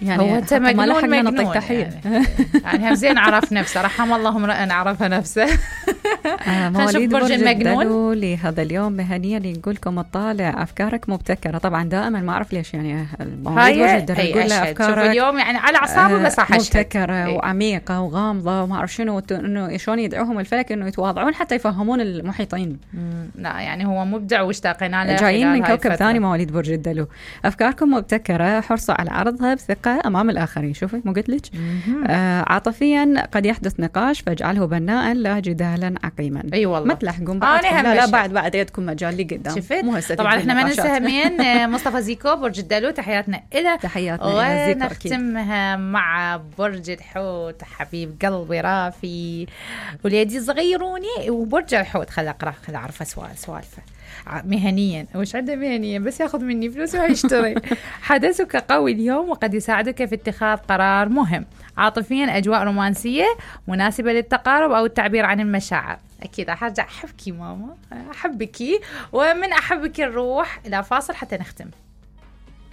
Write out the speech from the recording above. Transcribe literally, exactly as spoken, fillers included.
يعني هو انت مجنون مجنون تحية. يعني, يعني هم زين عرف نفسه، رحم الله امرأ عرف نفسه. آه مواليد برج الدلو لهذا اليوم مهنيا يقولكم اطالع افكارك مبتكره. طبعا دائما ما اعرف ليش يعني مواليد برج الدلو يقول له افكارك اليوم يعني على اعصابه بس راح مبتكره وعميقه وغامضه وما اعرف شنو، انه شلون يدعوهم الفلك انه يتواضعون حتى يفهمون المحيطين. لا يعني هو مبدع واشتاقنا له. جايين من كوكب ثاني مواليد برج الدلو. افكاركم مبتكره، حرصوا على عرضها بثقه امام الاخرين. شوفي مو قلت لك؟ آه عاطفيا قد يحدث نقاش فاجعله بناء لا جدالا عقيما. اي أيوة والله ما تلحقون بعد. لا لا بعد بعد يدكم مجال لي قدام. شفت طبعا احنا ما ننسى مين مصطفى زيكو برج الدلو، تحياتنا إله. تحياتنا إلى زيكو. ونختمها مع برج الحوت حبيب قلبي رافي وليدي صغيروني وبرج الحوت. خل اقرا خل اعرف سؤال سوالفه مهنيا. وش عنده مهنيا بس ياخذ مني فلوس ويشتري. حدثك قوي اليوم وقد يساعدك في اتخاذ قرار مهم. عاطفيا أجواء رومانسية مناسبة للتقارب أو التعبير عن المشاعر. أكيد راح أرجع أحبك ماما أحبك، ومن أحبك نروح إلى فاصل حتى نختم.